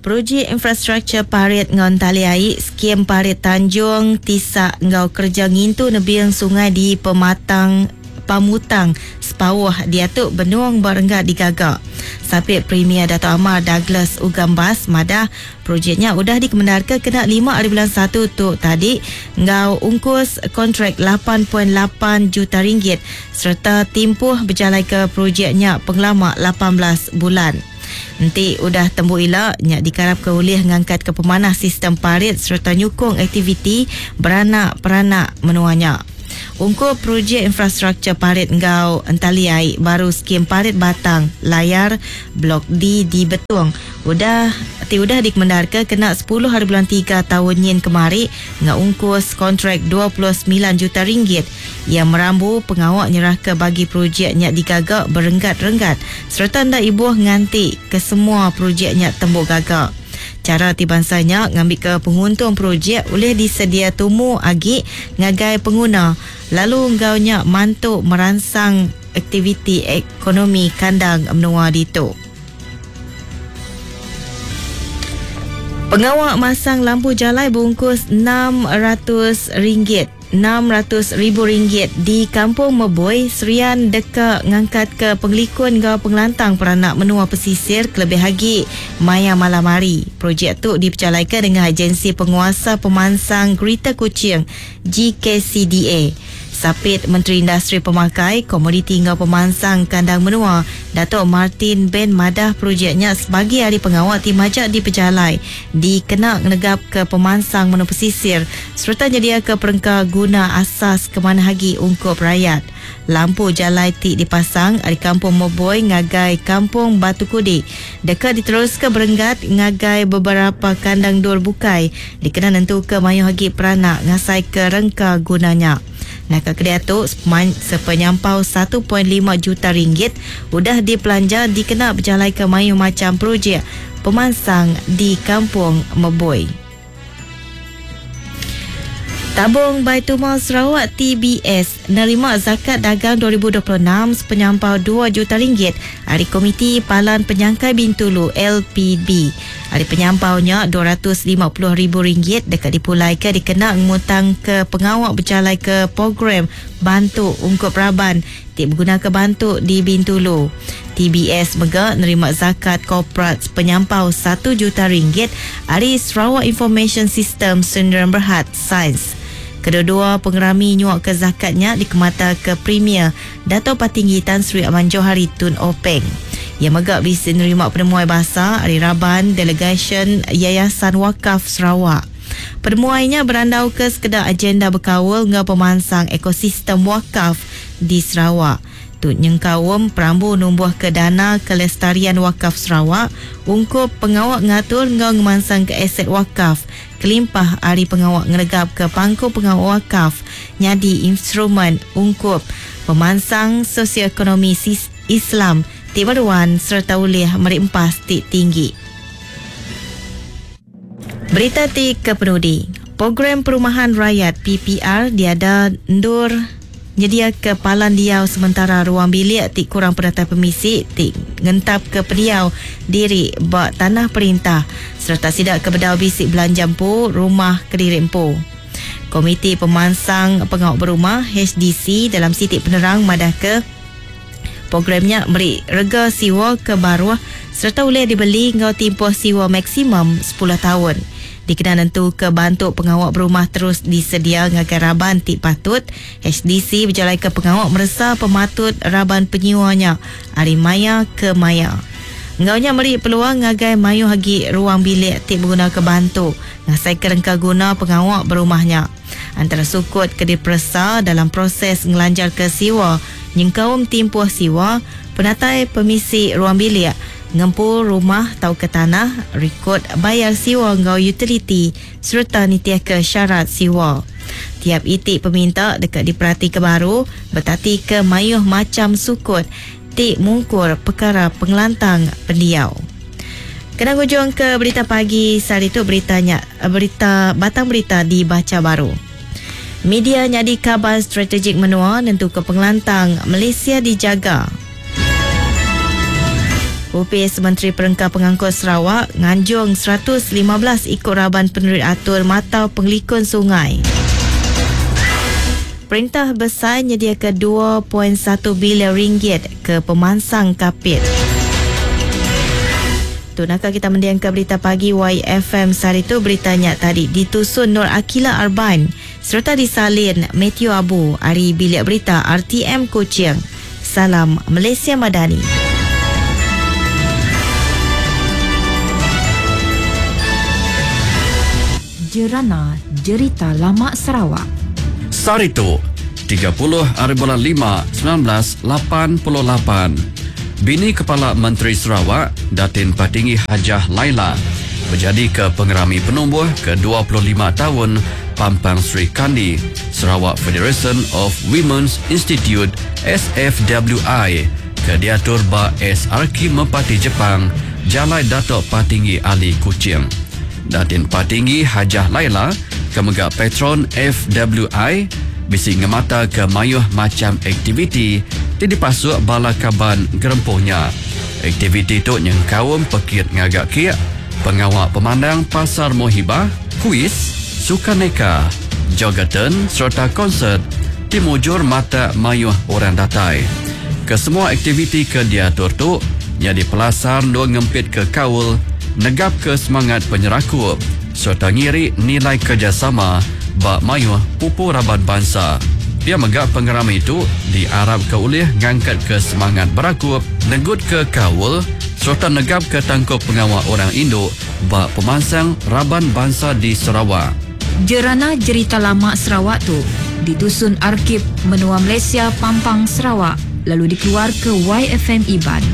Projek infrastruktur parit enggau entali ai, skim parit Tanjung Tisak enggau kereja ngintu nebing sungai di Pematang Pamutang, Sepauh diatu benung ba renggat digaga. Sapit Premier Datuk Amar Douglas Uggah Embas madah projek nya udah dikemendarka kena lima aribulan satu tu tadi enggau ungkus kontrak 8.8 juta ringgit sereta timpuh bejalaika projek nya pengelama 18 bulan. Enti udah tembu ila, nya dikarapka ulih ngangkatka pemanah sistem parit sereta nyukung aktiviti beranak-peranak menua nya. Ungkup projek infrastruktur parit enggau entali ai baru Skim Parit Batang Layar Blok D di Betong udah ti udah dikemendarka kena sepuluh haribulan tiga taun nyin kemari enggau ungkus kontrak 29 juta ringgit Iya merambu pengawa nyerahka bagi projek nya digaga berenggat-renggat sereta enda ibuh nganti kesemua projek nya tembu gaga. Chara ti bansa nya ngambika penguntung projek ulih disedia tumu agi ngagai penguna lalu enggau nya mantu meransang aktiviti ekonomi kandang menua ditu. Pengawa masang lampu jalai bungkus 600 ringgit. 600 ribu ringgit di Kampung Meboi, Serian deka ngangkatka pengelikun enggau pengelantang peranak menua pesisir kelebih agi maya malam hari. Projek tu dipejalaika nengah Agensi Penguasa Pemansang Greater Kuching, GKCDA. Sapit Menteri Industri Pemakai, Komoditi enggau Pemansang Kandang Menua, Datuk Martin Ben madah projek nya sebagi ari pengawa ti majak dipejalai dikena ngenegapka pemansang menua pesisir sereta nyediaka perengka guna asas ke manah agi ungkup rayat. Lampu jalai ti dipasang ari Kampung Moboi ngagai Kampung Batu Kudi deka diteruska berenggat ngagai beberapa kandang endur bukai dikena nentuka mayuh agi peranak ngasaika rengka guna nya. Naka kediatu, sepenyampau 1.5 juta ringgit udah dipelanja dikena bejalaika mayuh macham projek pemansang di Kampung Meboi. Tabung Baitulmal Sarawak TBS nerima zakat dagang 2026 sepenyampau 2 juta ringgit ari Komiti Palan Penyangkai Bintulu LPB. Ari penyampau nya 250 ribu ringgit deka dipulaika dikena ngemutangka pengawa bejalaika program bantu ungkup raban ti begunaka bantu di Bintulu. TBS mega nerima zakat korporat sepenyampau satu juta ringgit ari Sarawak Information System Sendirian Berhad, Sains. Kedua-dua pengerami nyuaka zakat nya dikemataka Premier Datuk Patinggi Tan Sri Abang Johari Tun Openg. Iya mega bisi nerima penemuai basa ari raban delegasyen Yayasan Wakaf Sarawak. Penemuai nya berandauka sekeda agenda bekaul enggau pemansang ekosistem wakaf di Sarawak. Tu nyengkaum perambu numbuhka Dana Kelestarian Wakaf Sarawak ungkup pengawa ngatur enggau ngemansangka aset wakaf kelimpah ari pengawa ngenegapka pangku pengawa wakaf nyadi instrumen ungkup pemansang sosioekonomi Islam ti meruan sereta ulih meri empas ti tinggi. Berita ti kepenudi, Program Perumahan Rayat, PPR, diada endur nyediaka palan diau sementara ruang bilik ti kurang penatai pemisi ti ngentapka pendiau diri ba tanah perintah sereta sida ke bedau bisi belanja empu rumah kediri empu. Komiti Pemansang Pengawa Berumah, HDC, dalam siti penerang madahka, Program nya meri rega siwa ke baruh sereta ulih dibeli enggau timpuh siwa maksimum sepuluh taun. Dikena nentuka bantu pengawa berumah terus disedia ngagai raban ti patut, HDC bejalaika pengawa meresa pematut raban penyiwa nya ari maya ke maya. Enggau nya meri peluang ngagai mayuh agi ruang bilik ti begunaka bantu ngasaika rengka guna pengawa berumah nya. Antara sukut ke diperesa dalam proses ngelanjarka siwa nyengkaum timpuh siwa, penatai pemisi ruang bilik, ngempu rumah tauka tanah, rikod bayar siwa enggau utiliti sereta nitihka syarat siwa. Tiap iti peminta deka diperatika baru betatika mayuh macham sukut ti mungkur pekara pengelantang pendiau. Kena ngujungka berita pagi sehari tu berita nya berita batang berita dibacha baru. Media nyadi kaban strategik menua nentuka pengelantang Malaysia dijaga. Opis Menteri Perengka Pengangkut Sarawak nganjung 115 iku raban penerit atur matau pengelikun sungai. Perintah besai nyediaka 2.1 bilion ringgit ke pemansang Kapit. Tu nakal kita mendiangka berita pagi YFM sehari tu. Beritanya tadi ditusun Nur Akila Arban serta disalin Matthew Abu ari Bilik Berita RTM Kuching. Salam Malaysia Madani. Jerana Jerita Lama Sarawak. Sehari tu, 30 hari bulan 5, 1988, Bini Kepala Menteri Sarawak, Datin Patinggi Hajah Laila, menjadi ke pengerami penumbuh ke-25 tahun Pampang Sri Kandi, Sarawak Federation of Women's Institute SFWI, ke diatur ba SRK Merpati Jepang, Jalai Datuk Patinggi Ali Kuching. Datin Patinggi Hajah Laila, ke mega patron FWI, bisi ngemata ke mayuh macam aktiviti ti dipasuk bala kaban gerempuhnya. Aktiviti tu nyengkaum pekit ngagak kiak, pengawak pemandang pasar mohibah, kuis, sukaneka, jogaton serta konsert ti mujur mata mayuh orang datai. Kesemua aktiviti ke diatur tu jadi pelasar dua ngempit ke kaul, negap ke semangat penyerakup serta ngiri nilai kerjasama ba mayuh pupu raban bangsa. Pia megak pengeram itu diarap ke ulih ngangkat ke semangat berakup, negut ke kaul serta negap ke tangkup pengawal orang Indo ba pemansang raban bangsa di Sarawak. Jerana Jerita Lama Sarawak tu ditusun Arkib Menua Malaysia Pampang Sarawak lalu dikeluar ke YFM Iban.